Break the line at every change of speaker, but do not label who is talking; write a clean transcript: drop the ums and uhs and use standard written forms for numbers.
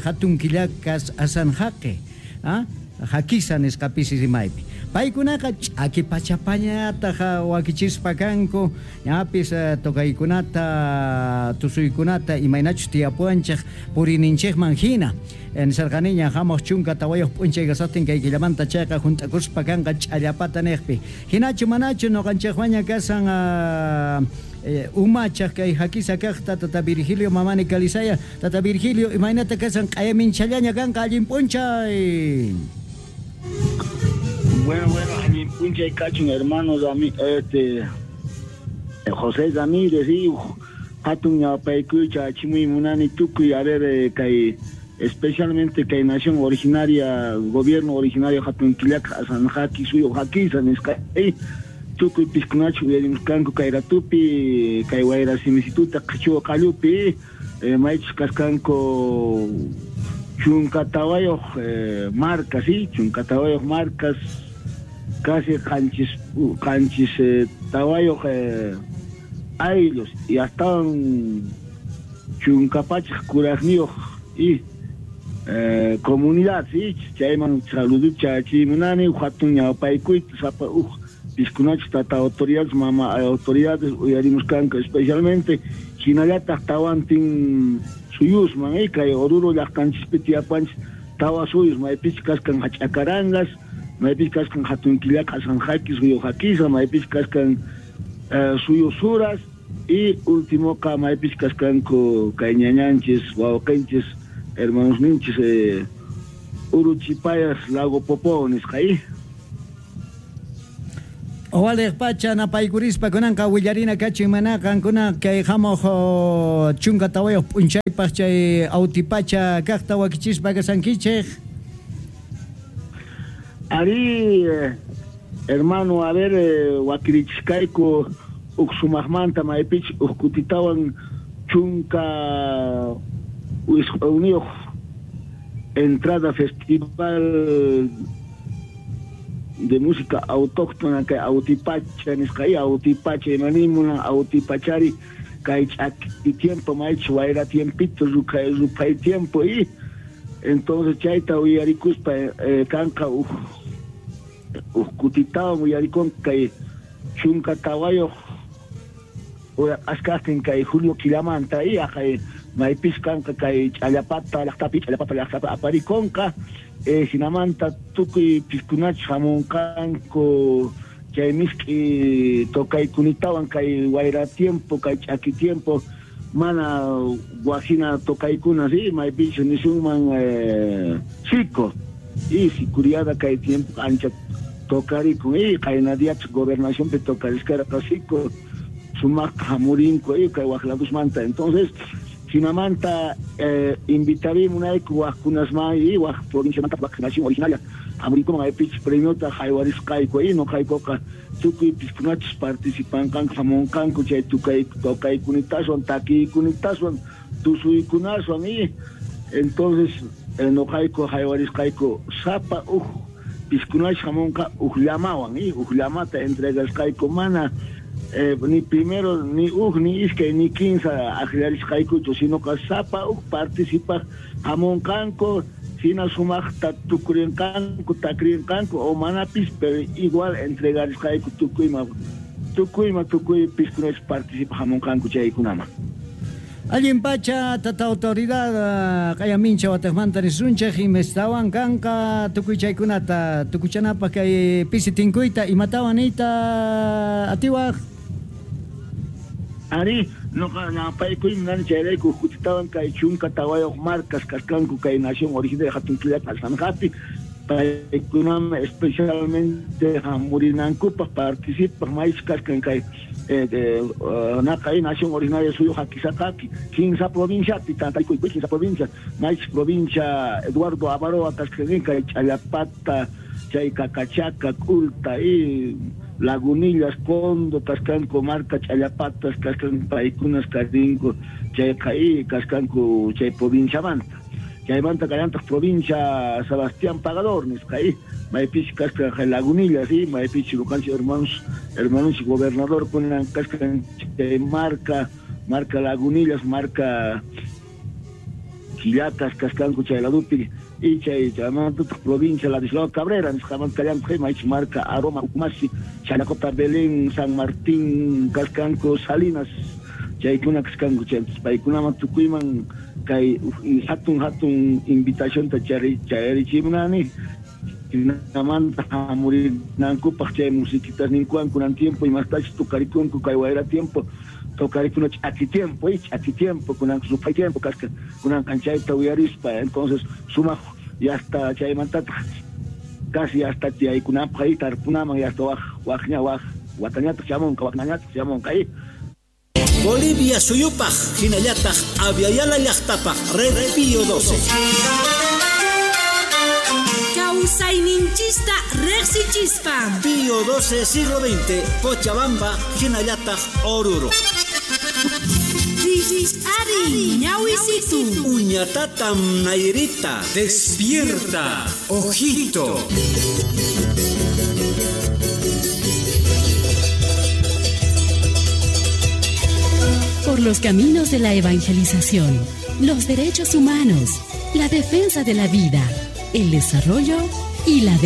Hatun killakas asanjaqi, hakisa nisqa pisi rimaypi. Paykunaqa ch'aki pachapañataq wakichispa kanku, ñapis tocaykunata, tusuykunata imaynachus tiyapuwanchej puriyninchejman jina. Nisarqaniña jamoj 14 p'unchay kasajtin kay killamanta chayqa junt'akuspa kanqa ch'allapata nejpi. Jinachu manachu noqanchejwaña kasan umachaj kay hakisa kajta tata Virgilio Mamani Calizaya. Tata Virgilio, imaynata kasan q'ayaminchallaña kanqa allin p'unchay.
Bueno, bueno, allin p'unchay kachun hermano José Ramírez y hatun ñawpaykuycha achimuy munani tukuy, a ver, kay especialmente kay nación originaria, gobierno originario hatun killaka asanjaki suyu hakisa nisqa tukuy piskunachu uyarimuskanku kay ratupi, kay wayra simisituta qhichwa qallupi, maychus kaskanku 14 marcas, sí, 14 marcas, casi qanchis tawayoj ayllos y hasta chunkapachaj kurajniyoj y comunidad, sí, chayman saluducha chimunani, hatun ñawpaykuyta sapa uj piskunachu tata autoridades, mama autoridades uyarimuskanku especialmente hinallataq tawantin suyusman, kay Oruro llaqtanchispi tiyapanchis tawa suyus, maypichus kaskan hach'akarangas, maypichus kaskan hatun killaka asanjaki suyu hakisa, maypichus kaskan suyu suras y últimoqa maypichus kaskanku kay ñañanchis wawqinchis hermanosninchis Uruchipayas Lago Popó nisqa.
Owalej pacha napaykurispa kunanqa willarina kachin mana qankuna kay hamoj 14 p'unchaypaq chay autipacha kajta wakichispa kasankichej.
Ari, hermano, a ver, wakirichiskayku uj sumajmanta maypich uj kutitawan 19 entrada festival de música autóctona kay autipacha nisqa y autipacha imanimuna autipachari kay ch'aki tiempo maychus wayra tiempito ruphay tiempo y entonces chayta uyarikuspa kanqa uj kutitawan uyarikun kay 14 askajtin kay julio killamanta y aqay maypis kanqa kay ch'allapata llaqtapi aparikonqa hinamanta tukuy piskunachus hamunqanku chay misk'i tocaykunitawan kay wayra tiempo kay ch'aki tiempo mana wajina tocaykuna, sí, maypichus nisunman sico y sicuriada kay tiempo ancha tocarikun y qayna diachus gobernacionpi tocariskarqa sico sumaqta hamurinku y kay waqladusmanta. Entonces hinamanta invitarimunayku waqkunasman y waq provinciamanta waq nación originaria hamurinkuman maypichus premiota haywarisqayku y noqaykuqa tukuy piskunachus participanqanku hamunqanku chay tocaykunitaaswan takiykunitaaswan tusuykunaswan y entonces noqayku haywarisqayku sapa uj piskunachus hamunqa uj llamawan y uj llamata entregasqayku mana ni primero ni uj ni iskay ni 15 akllarisqaykuchu sinoqa sapa uj participaq hamunqanku hina sumaqta tukurinqanku takrinqanku o manapis pero igual entregarisqayku tukuyma tukuy piskunachus participaq hamunqanku chaykunaman.
Allin pacha tata autoridad q'ayamincha wataqmanta nisunchej imestawan kanqa tukuy chaykunata tukuchanapaq kay pisi tinkuyta imatawan niyta atiwaj.
Ari, noqa ñawpaykuy munani chayrayku kutitawan kay 14 marcas kaskanku kay nación originaria hatun killaka asanjapi paykunaman especialmente hamurinankupaq participaq maychus kaskan kay naqay nación originaria suyu hakisaqaki 15 provinciapi tantaykuy 15 provincia maychus provincia Eduardo Avaroa kaskan kay Ch'allapata chay Cacachaca, K'ulta y Lagunillas, Condo kaskanku marca Ch'allapatas kaskan paykunas karinku chayqa y kaskanku chay provinciamanta. Chaymanta kallantaq provincia Sebastián Pagador nisqa y maypichus kaskan Lagunillas y maypichus ñuqanchik hermanos gobernador kunan kaskan chay marca Lagunillas, marca Quillacas kaskanku chay ladupi y chay chaymantataq provincia Ladislao Cabrera nisqamanta kallantaq maychus marka Aroma Ucumasi Chanacota Belén San Martín kaskanku Salinas chaykuna kaskanku chay paykunaman tukuyman kay hatun hatun invitacionta chayarichimunani jinamanta hamurinankupaq chay musiquitas ninkuwan kunan tiempo imastachus tukarikunku kay wayra tiempo tocarikuna ch'aki tiempo ch'aki tiempo kunan ruphay tiempo kasqa kunan chayta uyarispa entonces sumaq yasta chaymantataq casi hasta tiyaykunapaq ahí tarpunaman yasta waj wajña waj watañataq chamunqa waqnañataq chamunqa ahí.
Bolivia suyupaq hinallataq Aviala llaqtapaq Red Pío 12.
Kawsayninchista riqsichispa.
Pío 12 siglo XX, Cochabamba, hinallataq Oruro.
Ari, ñawisitu.
Uñatatam Nairita.
Despierta, ojito.
Por los caminos de la evangelización, los derechos humanos, la defensa de la vida, el desarrollo y la